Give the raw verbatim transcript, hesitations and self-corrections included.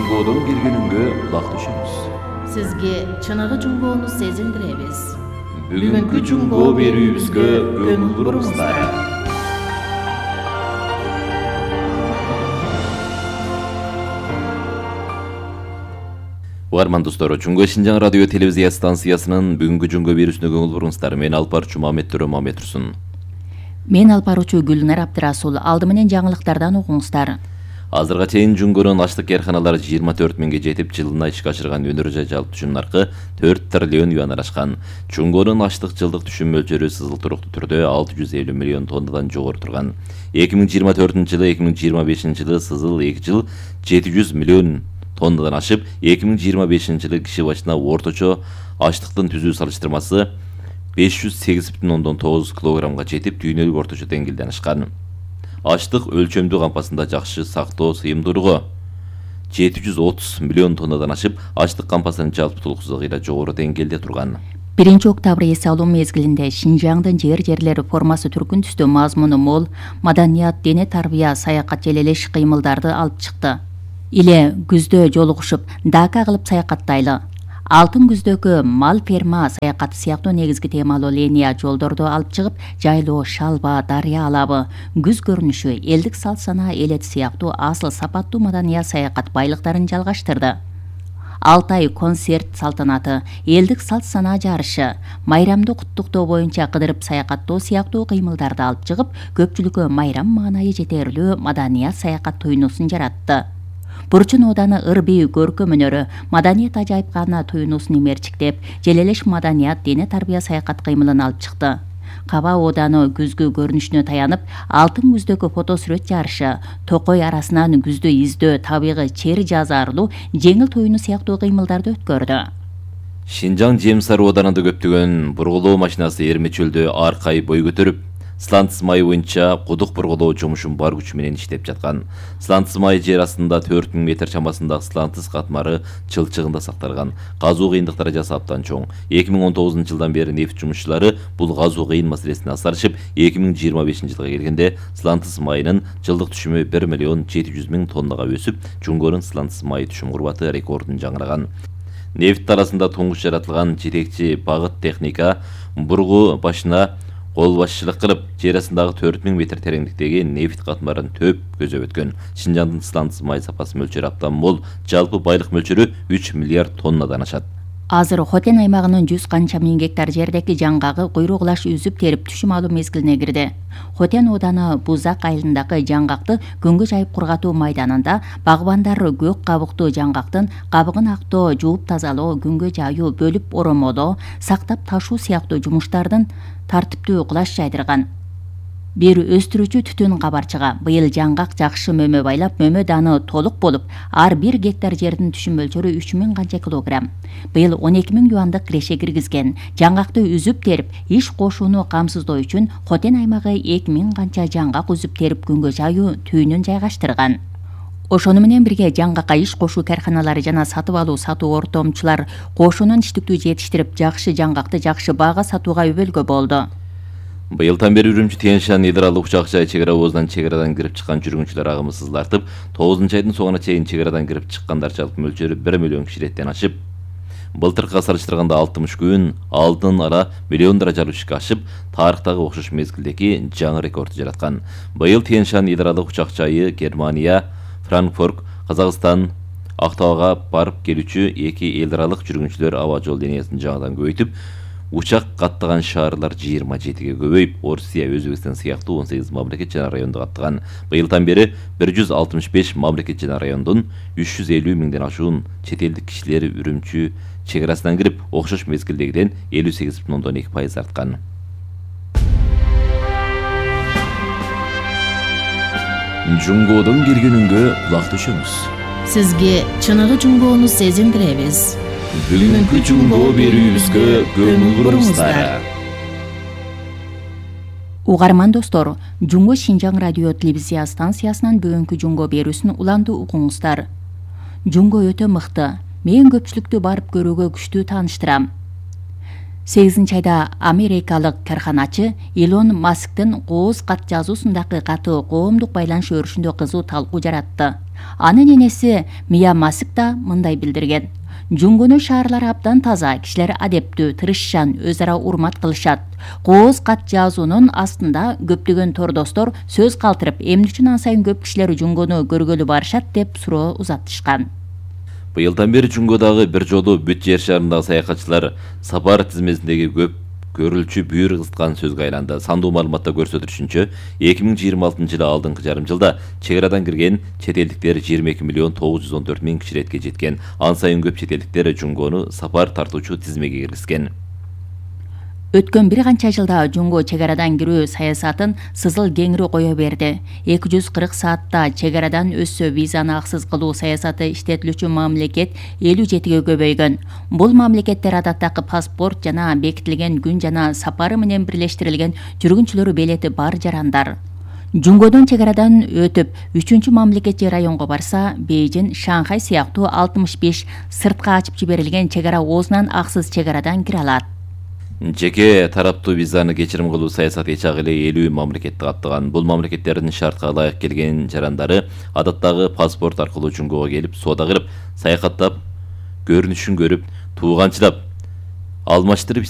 Жунгодон киргенинге кулак түшүңүз. Сизге чыныгы жунгоону сезилдиребиз. Бүгүнкү жунгоо берүүбүзгө көңүл буруңуздар. Угарман достор, Жунгоо Шинжаң радио телевизия станциясынын бүгүнкү жунгоо берүүсүнө көңүл буруңуздар. Мен алпарчу Мамет Төрө Мамет Турсун. Мен алпаручу Гүлнар Абдырасул. Алды менен жаңылыктардан угуңуздар. Азырга чейин жунгонун аштык карканалары жыйырма төрт миңге жетип, жылына ишке ашырган өнөр жай жалпы түшүм наркы төрт триллион юандан ашкан. Жунгонун аштык жылдык түшүм мөлчөрү сызыл туруктуу түрдө алты жүз элүү миллион тоннадан жогору турган. эки миң жыйырма төртүнчү жылы эки миң жыйырма бешинчи жылы сызыл эки жыл жети жүз миллион тоннадан ашып, эки миң жыйырма бешинчи жылы киши башына орточо аштыктын түзүү салыштырмасы беш жүз сегиз бүтүн ондон тогуз килограммга жетип, дүйнөлүк орточо деңгээлден ашкан. Аштык өлчөмдүү кампасында жакшы сактоо сыйымдуулугу жети жүз отуз миллион тоннадан ашып, аштык кампасынын жалпы толуксуздугу жогору деңгээлде турган. биринчи октябрь эс алуу мезгилинде Шинжаңдын жер жерлери формасы түркүн түстүү мазмуну мол маданият, дене тарбия, саякат желелеш кыймылдарды алып чыкты. Иле күздө жолугушуп, дака кылып саякаттайлы. Алтын күздөгү мал ферма саякаты сыяктуу негизги темалуу линия жолдорду алып чыгып, жайлоо, шалба, дарыя алабы, күз көрүнүшү, элдик салт санаа элет сыяктуу асыл сапаттуу маданият саякат байлыктарын жалгаштырды. Алты ай концерт салтанаты, элдик салт санаа жарышы, майрамды куттуктоо боюнча кыдырып саякаттоо сыяктуу кыймылдарды алып чыгып, көпчүлүккө майрам маанайы жетерлүү маданият саякат туюнуусун жаратты. Бурчун ооданы ыр-бийүү көркөм өнөрү, маданият ажайыпкана туюнуусун имерчиктеп, желелеш маданият, дене тарбия саякат кыймылын алып чыкты. Каба ооданы күзгү көрүнүшүнө таянып, алтын күздөгү фото сүрөт жарышы, токой арасынан күздү издөө, табигый чери жазаарлуу, жеңил туюну сыяктуу кыймылдарды өткөрдү. Шинжаң Жемсар ооданында көптөгөн бургулоо машинасы Эрме чөлдө аркай бой көтөрүп, Слантыс май боюнча кудук бургулоо жумушун бар күчү менен иштеп жаткан. Слантыс май жер астында төрт миң метр чамасындагы Слантыс катмары чылчыгында сакталган. Казуу кыйындыктары жаса абдан чоң. эки миң он тогузунчу жылдан бери нефть жумушчулары бул казуу кыйын маселесине асарышып, эки миң жыйырма бешинчи жылга келгенде Слантыс майынын жылдык түшүмү бир миллион жети жүз миң тоннага өсүп, Жунгонун Слантыс майы түшүм курбаты рекордун жаңыраган. Нефть арасында туңгуч жаратылган жетекчи багыт техника бургу башына кол башчылык кылып, жер астындагы төрт миң метр тереңдиктеги нефть катмарын төп көзөп өткөн. Шинжаңдын Слантыс май сапасы мөлчөрү абдан мол, жалпы байлык мөлчөрү үч миллиард тоннадан ашат. Азыр Хотен аймагынын жүз канча миң гектар жердеги жаңгагы куйругулаш үзүп терип түшүм алуу мезгилине кирди. Хотен ооданы Бузак айылындагы жаңгакты күнгө жайып кургатуу майданында багбандар көк кабыктуу жаңгактын кабыгын актоо, жууп тазалоо, күнгө жайуу, бөлүп оромолоо, сактап ташуу сыяктуу жумуштардын тартиптүү кулаш жайдырган. Бир өстүрүүчү түтүн кабарчыга быйыл жаңгак жакшы мөмө байлап, мөмө даны толук болуп, ар бир гектар жердин түшүм мөлчөрү үч миң канча килограмм. Быйыл он эки миң юандык киреше киргизген. Жаңгакты үзүп терип, иш кошууну камсыздоо үчүн Хотен аймагы эки миң канча жаңгак үзүп терип күнгө жайуу түйүнүн жайгаштырган. Ошону менен бирге жаңгакка иш кошуу карканалары жана сатып алуу сатуу ортомчулар кошунун иштиктүү жетиштирип, жакшы жаңгакты жакшы баага сатууга өбөлгө болду. Быйылдан бери Үрүмчү Тянь-Шань Идыралык учак жай чек ара оозунан чек арадан кирип чыккан жүргүнчүлөр агымы сызылартып, тогузунчу айдын соңуна чейин чек арадан кирип чыккандар жалпы мөлчөрү бир миллион кишилеттен ашып, былтыркыга салыштырганда алтымыш күн алдын ала миллион даражалуу ишке ашып, тарыхтагы окшош мезгилдеги жаңы рекордду жараткан. Быйыл Тянь-Шань Идыралык учак жайы Германия, Франкфурт, Казакстан, Актауга барып келүүчү эки эл аралык жүргүнчүлөр аба жол линиясын жаңыдан көбөйтүп, учак каттаган шаарлар жыйырма жетиге көбөйүп, Орусия, Өзбекстан сыяктуу он сегиз мамлекет жана районду каттаган. Быйылдан бери бир жүз алтымыш беш мамлекет жана райондун үч жүз элүү миңден ашуун чет элдик кишилери Үрүмчү чек арасынан кирип, окшош мезгилдегиден элүү сегиз бүтүн ондон эки пайыз арткан. Жунгодон киргенинге кулак түшүңүз. Сизге чыныгы жунгоону сезилдиребиз. Бүгүнкү жунгоо берүүбүзгө көңүл буруңуздар. Угарман достор, Жунгоо Шинжаң радио телевизия станциясынын бүгүнкү жунгоо берүүсүн уланды угуңуздар. Жунгоо өтө мыкты. Мен көпчүлүктү барып көрүүгө күчтүү тааныштырам. сегизинчи айда америкалык карханачы Илон Масктын кооз кат жазуусундагы каты коомдук байланыш өрүшүндө кызуу талкуу жаратты. Анын энеси Мия Масик да мындай билдирген: Жунгонун шаарлары абдан таза, кишилер адептүү, тырышчан, өз ара урмат кылышат. Кооз кат жазуунун астында көптөгөн тордостор сөз калтырып, эмне үчүн ан сайын көп кишилер Жунгону көргөлү барышат деп суроо узатышкан. Быйылдан бери Жунгодагы бир жолу бүт жер шарындагы саякатчылар сапар тизмесиндеги көп көрүлчү бүйүр кызыткан сөзгө айланды. Сандуу маалыматта көрсөтүлүшүнчө, эки миң жыйырма алтынчы жылы алдыңкы жарым жылда чек арадан кирген чет элдиктер жыйырма эки миллион тогуз жүз он төрт миң киши иретке жеткен. Ан сайын көп чет элдиктер Жунгону сапар тартуучу тизмеге киргизген. Өткөн бир канча жылда Жунго чек арадан кирүү саясатын сызыл кеңири кое берди. эки жүз кырк саатта чек арадан өссө визаны аксыз кылуу саясаты иштетилүүчү мамлекет элүү жетиге көбөйгөн. Бул мамлекеттер адаттагы паспорт жана бекитилген күн жана сапары менен бирлештирилген жүргүнчүлөр билети бар жарандар. Жунгодон чек арадан өтүп, үчүнчү мамлекет же районго барса, Бейжин, Шанхай сыяктуу алтымыш беш сыртка ачып жиберилген чек ара оозунан аксыз чек арадан кире алат. Жеке тараптуу визаны кечирим кылуу саясаты эч эле элүү мамлекетти каптаган. Бул мамлекеттердин шартка ылайык келген жарандары адаттагы паспорт аркылуу Жунгого келип, соода кылып, саякаттап, көрүнүшүн көрүп, тууганчылап, алмаштырып